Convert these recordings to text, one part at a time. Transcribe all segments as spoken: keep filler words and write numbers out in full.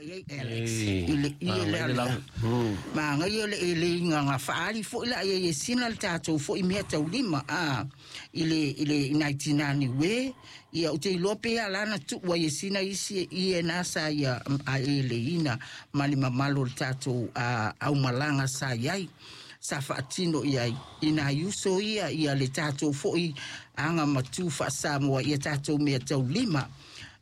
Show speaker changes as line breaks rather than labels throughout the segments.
i ai Alex i le ie lea le magaia le eleiga na faaali foʻi la ia e sina le tatou foʻi mea taulima a i le i le i nai tinā Niue. Ia ou te iloa pe ala na tuu ai e sina isi ie na sa ia a eleina ma le mamalu o le tatou aumalaga sa i ai sa faatino i ai i nai uso ia ia le tatou foʻi aga matu faasamoa ia tatou mea taulima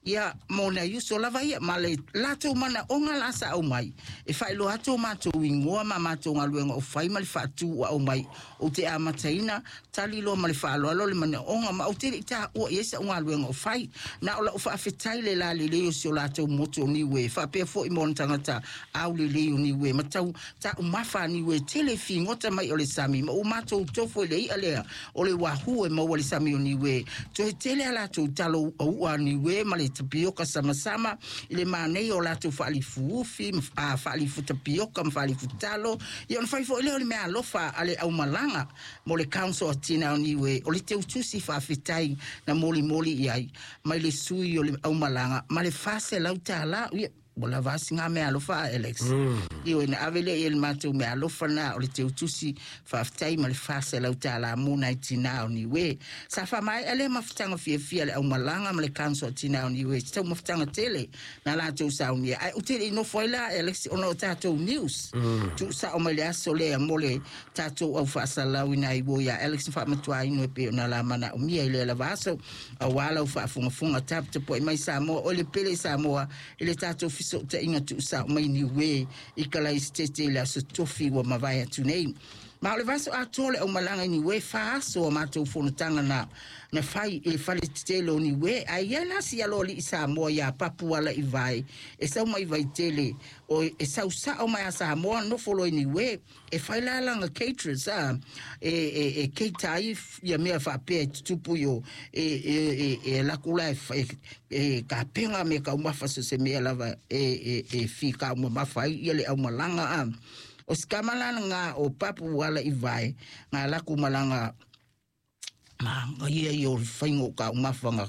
ia mo nai uso lava ia ma le latou manaʻoga la sa aumai e faailoa atu o matou igoa ma matou galuega o fai ma le faatū ua aumai. Ou te amataina tali loa ma le faaaloalo le manaʻoga ma ou te leʻi taʻua i ai saʻu galuega o fai na o laʻu faafetai le lalelei o si o latou motu o Niue faapea foʻi mo ona tagata aulelei o Niue ma tau taʻumafa a Niue tele figota mai o le sami ma ua matou tofo i le iʻa lea o le uahu e maua le sami o Niue toe tele a latou talo uaua a Niue ma le tapioka samasama i le manaia o latou faalifuufi a faalifu tapioka ma faalifu talo. Ia ona fai foʻi lea o le mea alofa a le aumalaga mo le Council o Tina o Niue o le teutusi faafetai na molimoli i ai mai le sui o le aumalaga ma le faselau tālā. Ia ua lava asiga mea alofa a Alex mm. Ioe na ave lea i le matou mea alofa na o le teutusi faafetai ma le faselau tālā mo nai tinā o Niue. Sa faamaea lea mafutaga fiafia le aumalaga ma le Council o Tinā o Niue se taumafutaga tele na latou saunia ae ou te leʻi nofo ai la Alex ona o tatou news mm. tuusao mai le aso lea mo le tatou au faasalau ina ai ua iā Alex na faamatuaina e pei ona la manaomia i lea lava aso auā lau faafogafoga taputapuai mai Samoa o le pele Samoa i le tatou fesootaiga tuusao mai Niue i Kalaisitete i le aso tofi ua mavae atu nei. Ma o le vaiaso atoa le aumalaga i Niue fa aso a matou fonotaga na na fai i le fale tetele o Niue ae i ai la si aloalii Samoa iā Papu ala i vae e sau mai Vaitele o e sau sao mai a Samoa nofo loa i Niue e fai la lana caterers a e e e cater ai ia mea faapea e tutupu i o e e e e laku la e e, e kapega me kaumafa so se mea lava e e e fikaumamafa ai ia le aumalaga a o se kamalana o Papu ala i vae ngā laku malaga ma ia i o whaingo ka umawhanga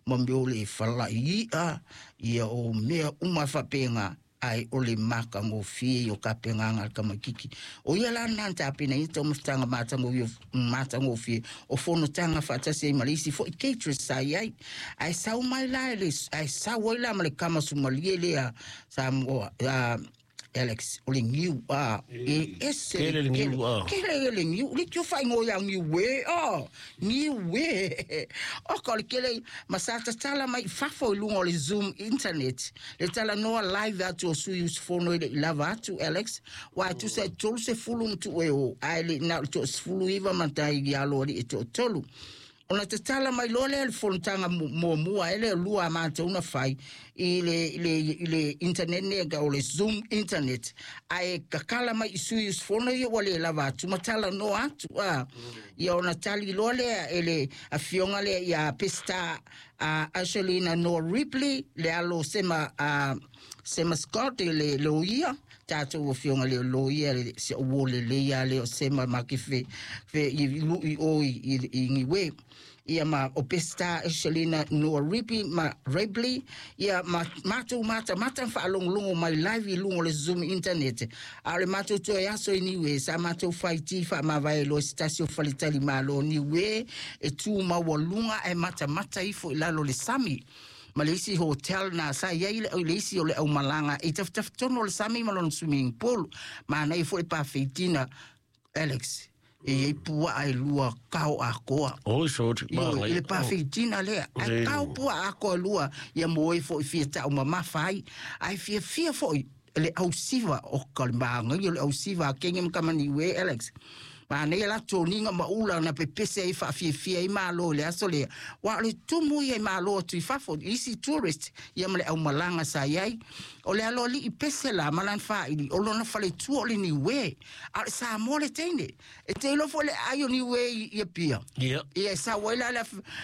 ma me o le whalai ia ia o mea uma whapenga ai o le maka ngofie i o kapenga ngā kamakiki. O ia la nā tāpena i tō mawhitanga mātango i o mātangofie o fonotaga faatasi ai ma le isi foʻi caterers sa i ai. Ae sau mai la e le, ae sau ai la ma le kama sumalie lea Samoa, uh, Alex, o le niu a e ese
Kele le niu a.
Kele le niu, le tio whaingo ia niu e, oh, niu e. O ka o le kele, ma sa tatala mai fafo i lunga o le Zoom internet. Le tala noa live atu o sui usufono i le i lava atu, Alex. Wa tu se tolu se fulu mtu e o, ai le na to sefulu iva matai i alo ali e to tolu. Ona tatala mai loa lea le fonotaga muamua e le lua a matou na fai i le, i le, i le internet ne o le Zoom internet ae kakala mai i sui usufono ia ua le lava atu ma tala noa atu a ia ona tali loa lea e le afioga lea ia Pesta a Ashelina Noah Ripley le alo sema a Sema Scott le loia tatou afioga le loia le se o le le ia le o sema ma ke fe fe i lu i o i i, i Niue ia ma o Pesta Eshelina Noah Ripley ma Ripley ia ma matou mata mata whaalongolongo mai live i luga o le Zoom internet a o le matou toe aso i Niue sa matou faiti faamavae loa se tasi o faletali malo o Niue e tu maualuga ae matamata ifo i lalo le sami ma le isi hotel na sa i ai le le isi o le aumalaga i tafitafitonu o le sami ma lona swimming pool manaia foʻi pafeitina Alex e iai puaa e lua kao akoa.
Oi, soti,
Ioe, i le pafeitina lea ae kao puaa akoa lua ia mo e foʻi fia taʻumamafa ai ae fiafia foʻi le ausiva o ka le magaia o le ausiva a kege ma kamaniue Alex manaia la toniga ma ula na pepese ai faafiafia ai malo i le aso lea ua o le tumu ia i malo atu i fafo isi tourist ia ma le aumalaga sa i ai o le aloalii pese la ma lana faaili o lona faletua o le Niue a o le Samoa le teine e te iloa foʻi le ai o Niue i i Apia.
Ia.
Ia e sau ai la le,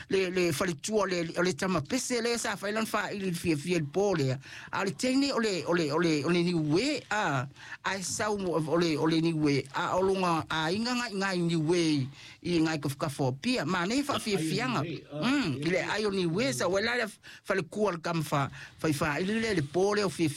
le, le faletua o le, o le tama pese lea sa fai lana faaili i le fiafia i le pō lea a o le teine o le, o le, o le, o le Niue a ae sau mo- o le, o le Niue a o loga aiga ngai ngai Niue i ngai kafukafu o Apia manaia faafiafiaga mm, i le ai o Niue sau ai la le falekua o le kama fa fai faaili lea i le pō lea o fiafiaga.